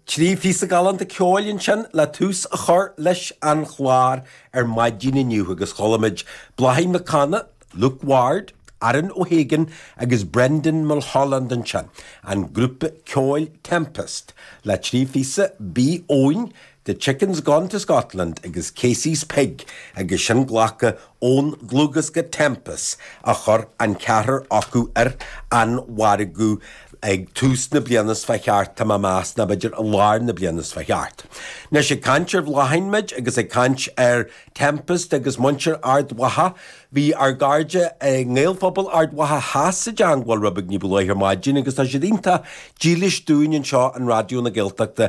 3 phíosa galánta ceoil ansin le tús a chur leis an chlár ar maidin inniu agus chuala muid Bláithín Mhic Cana, Luke Ward, Aaron O'Hagan agus Brendan Mulholland ansin, an grúpa ceoil Tempest le 3 phíosa, Bí Eoin, The Chicken's Gone to Scotland agus Casey's Pig agus sin glactha ón dlúthdhiosca Tempest a chuir an ceathrar acu ar an mhargadh ag tús na bliana seo fá cheart, tá mé ag meas, nó b'fhéidir i lár na bliana seo fá cheart. Anois ag caint ar Bhláithín muid agus ag caint ar Tempest agus muintir Ard Mhacha, bhí ár gcairde i nGaelphobal Ard Mhacha Theas i dteangmháil rud beag ní ba luaithe ar maidin agus tá siad iontach dílis dúinn anseo in Raidió na Gaeltachta.